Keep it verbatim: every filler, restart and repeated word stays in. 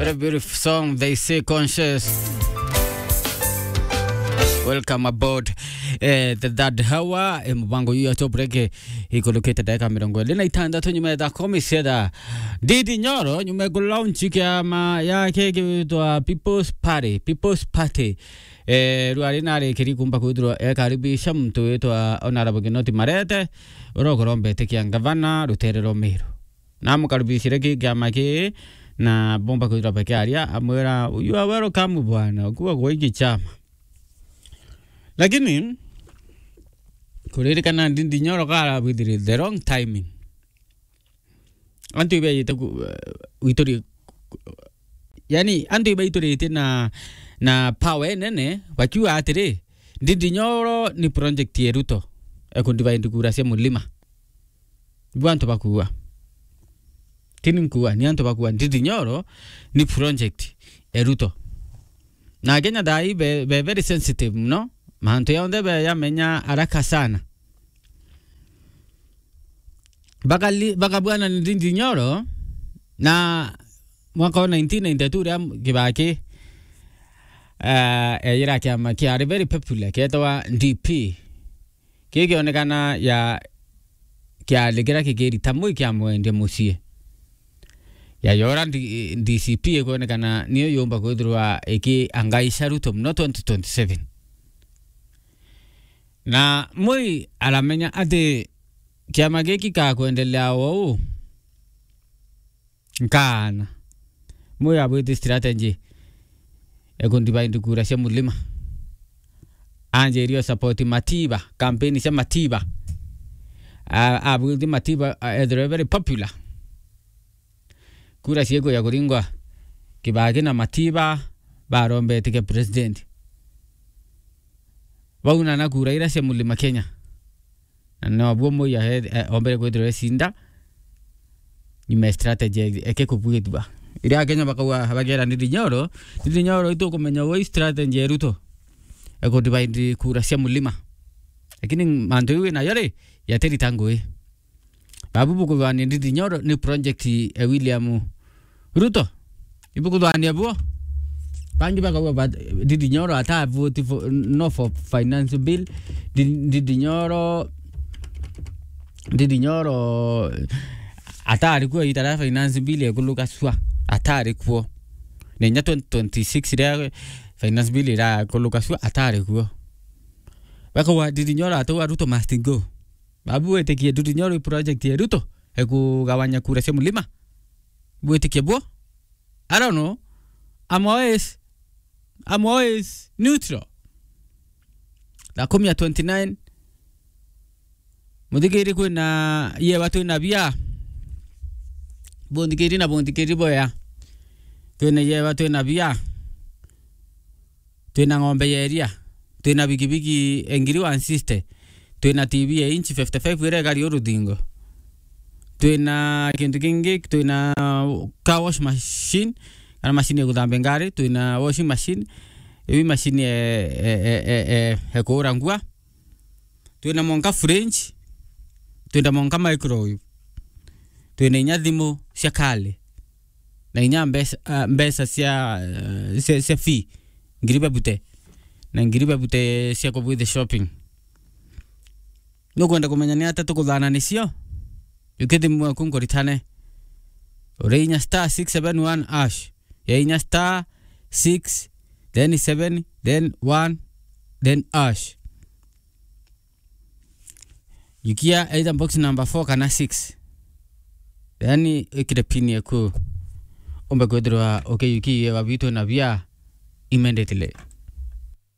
A beautiful song, they say conscious. Welcome aboard, eh, the third hour, eh, mubango yu ya Top Break, eh, ikulukite ndagika mirongo iri na itantatu nyuma ya thaa kumi cia thaa. Ndindi Nyoro, nyuma ya kulaunch kiama yake gitwa People's Party, People's Party. Eh, rwari narikiri kumba kwithirwa ekaribisha muntu witwa Honorable Kinoti Marete, uria ukorombete kia ngavana rutere rwa Meru. Namukaribishire ki kiama ki, na bomba kwithirwa bakiaria, amwira, "You are welcome bwana, kuwa gwa iki chama." Lakini, kuririkana Ndindi Nyoro karabwithire the wrong timing. Antu ibaite ku-, wituri-, yani, antu ibaituritie na, na power enene, bakiuga atiri, Ndindi Nyoro ni project ya Ruto, ekundivide kura cia mulima. Ibu antu bakuuga. Tini nkuuga, ni antu bakuuga, Ndindi Nyoro ni project ya Ruto. Na Kenya thaa ii be, be very sensitive muno. Mantu yonthe be yamenya haraka sana. Bakali-, bakabwana ni Ndindi Nyoro, na mwaka wa nineteen ninety-two ria Kibaki, eh, eyira kiama kiari very popular, kietwa D P. Kii kionekana ya kiari kiria kikirita mwi kiamwendia mucii. Ya yora ndi-, D C P ikwonekana niyo yumba kwithirwa ikiangaisha Ruto muno twenty twenty-seven. Na Moi aramenya ati kiama giki gakwendelea o uu, nkaana. Moi abwiti strategy ekundivide kura cia mulima. Anjirie support Matiba, campaign cia Matiba. A-, abwiti Matiba, a, ethirwe very popular. Kura ciekuja kuringwa, Kibaki na Matiba barombete kia president. Baunana kura iria cia Mulima Kenya. Na nobuo Moi ahe-, eh, ombere kwithirwa ecinda, nyuma ya strategy eke kubwithua. Iria Akenya bakauga, bakera Ndindi Nyoro, Ndindi Nyoro itukumenya uu strategy ya Ruto. Ekudivide kura cia Mulima. Lakini mantu iu inayo ri, yatirita ngui. Babu bukuthwania Ndindi Nyoro ni project ya William Ruto. Ibukuthwania buo. Bangi bakauga ba-, Ndindi Nyoro ata vote for, no for finance bill. Ndi-, Ndindi Nyoro, Ndindi Nyoro atari kuo ita ria finance bill ekuluka sua. Atari kuo. Na inya twenty twenty-six ria finance bill irakuluka sua, atari kuo. Bakauga Ndindi Nyoro atauga Ruto must go. Babu witikie Ndindi Nyoro i project ya Ruto, ekugawanya kura cia Mulima. Bwitikie buo? I don't know. I'm always, I'm always neutral. Thaa kumi ya twenty-nine. Muthikiri, kwina yewa twina bia. Bunthikiri na bunthikiri boya. Kwina yewa twina bia. Twina ng'ombe ya iria. Twina bigibigi ngiri one sixty. Twina T V ya inch fifty-five iria igari uruthingo. Twina kintu kingi, twina car wash machine, kana machine ya guthambia ngari. Twina washing machine, iu machine e, e, e, e, e, e kuura ngua. Twina monka fridge, twina monka microwave. Twina inya thimu cia kale. Na inya mbeca, ah, mbeca cia, eh, cia, cia fee, ngiri bebute. Na ngiri bebute cia kubwithia shopping. Nukwenda kumenya ni ata tukuthana nicio? Jukia thimu eku nkuritane. Uri inya star six seven one hash. Ya inya star six, then seven, then one, then hash. Jukia either box number four kana six. Then ikire pin eku. Umbe kwithirwa ukijukia yewa bitu na bia immediately.